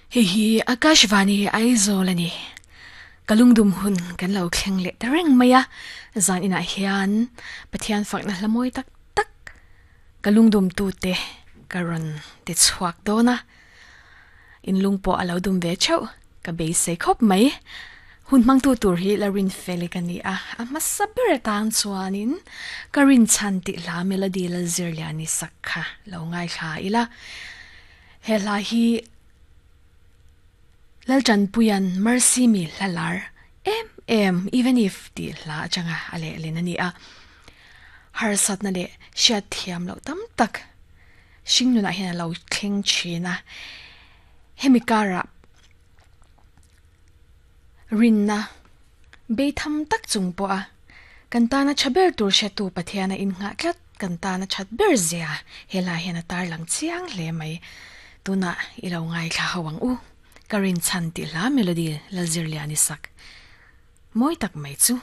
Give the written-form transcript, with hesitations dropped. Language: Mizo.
Hei hi Akashvani Aizawl a ni. Ka lungdum hun kan lo thleng leh ta reng mai a, zan inah hian Pathian fakna hla mawi tak tak ka lungdum tute ka rawn ti chhuak dawn a. In lung pawh a lo dum ve theuh ka beisei khawp mai. Hun hmangtu tur hi la rin fel i ka ni a, a hmasa ber atang chuanin ka rinchhan tih hla melody la zir lian i sak kha lo ngaithla ila. He hla hi Laltanpuia'n Mercy mi hla lar em em Even If tih hla atanga a lehlin a ni a. Harsatna leh hriatthiam loh tam tak hringnunah hian a lo thleng thin a. Hemi karah rinna beitham tak chung pawha kan tana tha ber tur hretu Pathiana innghah tlat kan tana that ber zia he lai hian a tarlang chiang hle mai. Tunah i lo ngaithla ho ang u. Ka rinchhan tih hla melody Lalzirliani sak mawi tak mai chu.